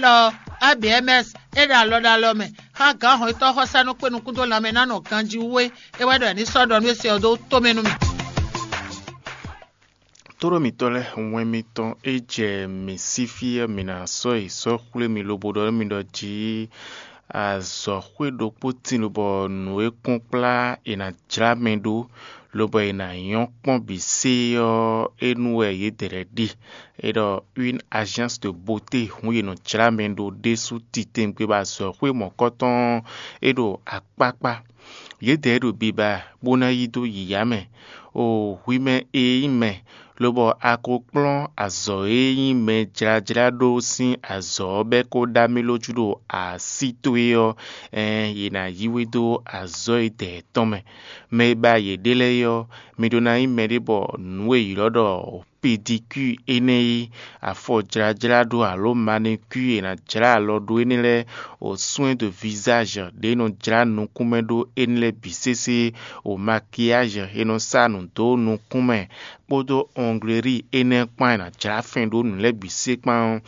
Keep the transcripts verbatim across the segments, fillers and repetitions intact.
tɔ ABMS é ɖo alɔ ɖo alɔ mɛ xá gǎn hɔn yětɔn xɔsánú kpé nukún dó lanmɛ ná nɔ ganjí wú é. É wɛ ɖɔ è ní sɔ́ ɖɔ nú é se ɔ́ dó tomɛ nú mì. Tóɖó mǐtɔn lɛ́ɛ, wɛn mitɔn é jɛ mǐ sí fí ɔ́, mǐ ná sɔ́ yi sɔ́ xwlé mi lobo ɖɔ nú mi ɖɔ jí azɔ̌xwé ɖokpó tín lobɔ nǔ e kún kplá è nǎ jlá mɛ ɖó, lobɔ è nǎ nyɔ́ kpɔ́n bǐ sé ɔ́, é nu wɛ yědɛɛ lɛ́ɛ ɖe. É ɖɔ une agence de beauté hǔn yě nɔ jlá mɛ ɖó ɖésú titewungbe bɔ azɔ̌xwé mɔ̌kɔtɔn ɔ́, é ɖo akpákpá. Yědɛɛ ɖo biba bó ná yí dó yǐyá mɛ. O hwi mɛ e nyí mɛ, lobɔ a ko kplɔ́n azɔ̌ e nyí mɛ jlájlá ɖó sín azɔ̌ ɔ́ bɔ é ko ɖó amilójú ɖo así towe ɔ́, ɛɛn yě ná yí we dó azɔ̌ e dɛ̌ tɔn mɛ. Mɛ e ba yě ɖe lɛ́ɛ é ɔ́, mi ɖó ná nyí mɛɖé bɔ nǔ e è ylɔ́ ɖɔ pédicure énɛ́ e afɔ jlájlá ɖó alǒ manicure e è nǎ jlá alɔ ɖó énɛ́ lɛ́ɛ, o soin de visage ɖě e nɔ jlá nukún mɛ ɖó énɛ́ lɛ́ɛ bǐ sésé, o maquillage e nɔ sá nǔ dó nukún mɛ, kpódó onglerie énɛ́ kpán e è nǎ jlá fɛn ɖó nǔ lɛ́ɛ bǐ sé kpán ɔ́,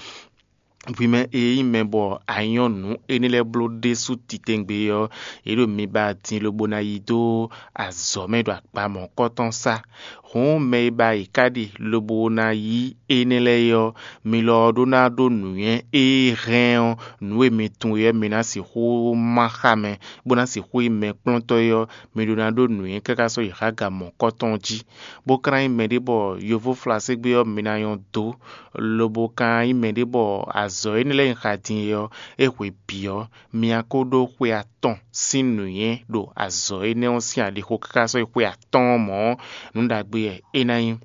hwi mɛ e nyí mɛ bɔ a nyɔ́ nǔ énɛ́ lɛ́ɛ bló ɖésú titewungbe ɔ́, yě ɖo mi ba din lobo ná yi dó azɔ̌ mɛ ɖo akpa mɔ̌kɔtɔn sá. Hǔn mɛ e ba yě ká ɖe lobo ná yí énɛ́ lɛ́ɛ é ɔ́, mi lɔ ɔ́ ɖó ná ɖó nǔnywɛ́ e hɛn ɔ́, nǔ e mi tunwun é ɔ́, mi ná sixú má xá mɛ, bó ná sixú nyí mɛkplɔ́ntɔ́ é ɔ́, mi ɖó ná ɖó nǔnywɛ́ káká sɔ́ yi xá ga mɔ̌kɔtɔn jí. Bó ka ná nyí mɛɖé bɔ yovóflaségbé ɔ́ mi ná nyɔ́ dó, lobo ka nyí mɛɖé bɔ azɔ̌ énɛ́ lɛ́ɛ e un xa din é ɔ́, é hwe bǐ ɔ́, mi ná ko ɖó xwe atɔn sín nǔnywɛ́ ɖo azɔ̌ énɛ́ ɔ́ sín aɖixo káká sɔ́ yi xwe atɔ́ɔ́n mɔ̌, nǔ ɖagbe wɛ é ná nyí.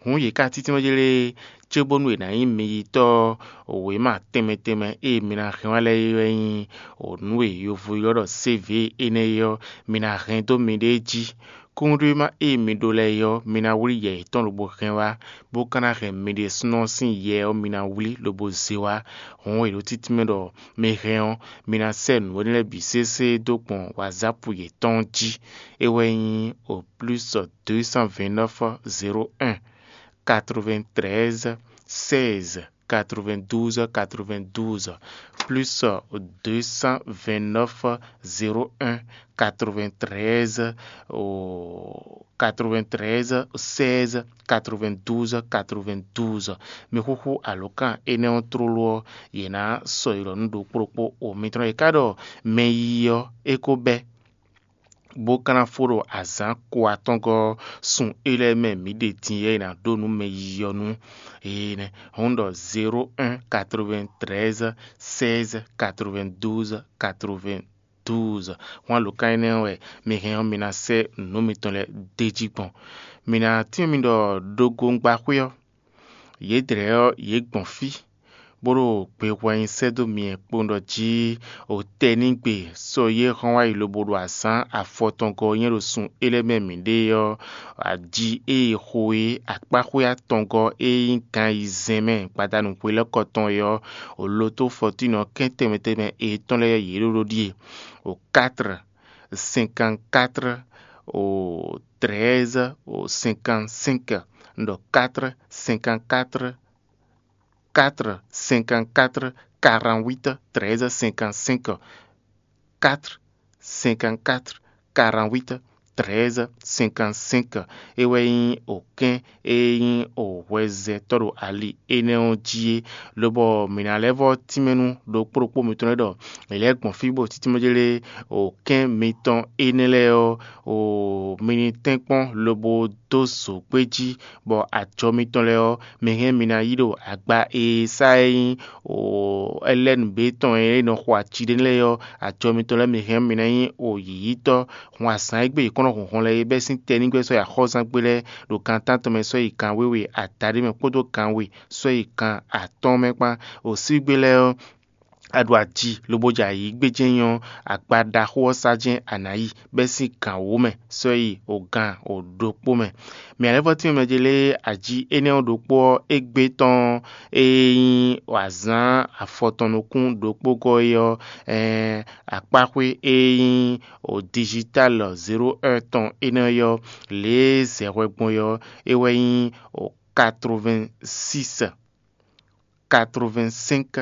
Hǔn yě ká títí nɔ jlé cóbónú è nǎ nyí miyitɔ́ wěma tɛnmɛ tɛnmɛ e mi ná hɛn wá lɛ́ɛ é wɛ nyí nǔ e yovo ylɔ́ ɖɔ sévě énɛ́ é ɔ́, mi ná hɛn dó miɖée jí. Kúnɖéma e mi ɖó lɛ́ɛ é ɔ́, mi ná wlí yɛ yětɔn lobo hɛn wá, bó ka ná hɛn mi ɖésúnɔ sín yɛ ɔ́ mi ná wlí lobo zé wá. Hǔn è ɖǒ títí mɛ ɖɔ mi hɛn ɔ́, mi ná sɛ́ nǔ énɛ́ lɛ́ɛ bǐ sésé dó gbɔn wǎzápu yětɔn jí. É wɛ nyí o plus deux cent vingt-neuf zéro un quatre-vingt-treize seize quatre-vingt-douze quatre-vingt-douze, plus deux cent vingt-neuf zéro un quatre-vingt-treize quatre-vingt-treize seize quatre-vingt-douze quatre-vingt-douze. Mi xúxú alǒkan énɛ́ ɔ́ tlóló ɔ́, yě ná sɔ́ yi ɖɔ nú ɖokpó ɖokpó o mitɔn e ka ɖɔ mɛ yiyi ɔ́ é ko bɛ́, bó ka ná fó ɖo azǎn ko atɔ́ngɔ́ sun é lɛ́ɛ mɛ mǐ ɖe din é ná ɖó nú mɛ yiyi ɔ́ nú énɛ́. Hɔn ɖɔ zéro un quatre-vingt-treize seize quatre-vingt-douze quatre-vingt-douze. Hwan lǒ ka énɛ́ wɛ mi hɛn ɔ́, mi ná sɛ́ nǔ mitɔn lɛ́ɛ d'é jí gbɔn. Mi ná tín mi ɖɔ ɖogbongbaxwé ɔ́, yědɛɛ ɔ́, yě gbɔn fí, bó ɖo gbe hwɛ nyi sɛ́ dó mi kpowun ɖɔ jí o tɛnígbe sɔ́ yě hɔn wá yi lobo ɖo azǎn afɔtɔngɔ́ nyɛ ɖo sun é lɛ́ɛ mɛ mǐ ɖe ɔ́, aji e è xo é akpáxwé atɔngɔ́ e nyí gan ayizɛ́n mɛ gbadanu hwelɛ́kɔ tɔn é ɔ́, o lotó fɔtínɔ kɛ́n tɛnmɛ tɛnmɛ e tɔn lɛ́ɛ yě ɖó ɖó ɖíe: o quatre cinquante-quatre o treize o cinquante-cinq. Un ɖɔ quatre cinquante-quatre quatre cinquante-quatre quarante-huit treize cinquante-cinq. Quatre cinquante-quatre quarante-huit treize cinquante-cinq. É wɛ nyí okɛ́n e nyí o hwɛzɛtɔ́ ɖo ali énɛ́ ɔ́ jí é, lobɔ mǐ ná lɛ́ vɔ́ tínmɛ nú ɖokpó ɖokpó mitɔn lɛ́ɛ ɖɔ è lɛ́ gbɔn fí bó títí mɛ jlé okɛ́n mitɔn énɛ́ lɛ́ɛ ɔ́, o mi ní tɛ́nkpɔ́n lobo dó zǒgbé jí, bɔ ajɔ mitɔn lɛ́ɛ ɔ́, mi hɛn mi ná yí ɖo agba e sá e nyí o ɛlɛ́nǔbé tɔn e nɔ xo aci ɖé lɛ́ɛ ɔ́, ajɔ mitɔn lɛ́ɛ mi hɛn mi ná nyí o yǐyítɔ́ hun azǎn e gbe yě kɔn nɔ hun hɔn lɛ́ɛ é bɛ́ sín tɛnígbɛ́ sɔ́ yi axɔ́zángbé lɛ́ɛ ɖo gan tántɔn mɛ sɔ́ yi gan wěwe adaɖé mɛ kpódó gan we sɔ́ yi gan atɔ́ɔ́n mɛ kpán. O sígbé lɛ́ɛ ɔ́, a ɖo aji lobo jɛ ayǐ gbéjé nyɔ́, akpa ɖaxó ɔ́ sá jɛ́n a nǎ yi, bɛ́ sín gan wǒ mɛ sɔ́ yi o gan o ɖokpó mɛ. Mǐ alɛ́vɔ́tín mɛ jɛ lé aji énɛ́ ɔ́ ɖokpó ɔ́, égbé tɔn e nyí azǎn afɔtɔn nukún ɖokpó gɔ́ é ɔ́, ɛɛn akpáxwé e nyí o digital zéro un tɔn énɛ́ ɔ́, lě e zɛ hwɛ gbɔn é ɔ́, é wɛ nyí o quatre-vingt-six quatre-vingt-cinq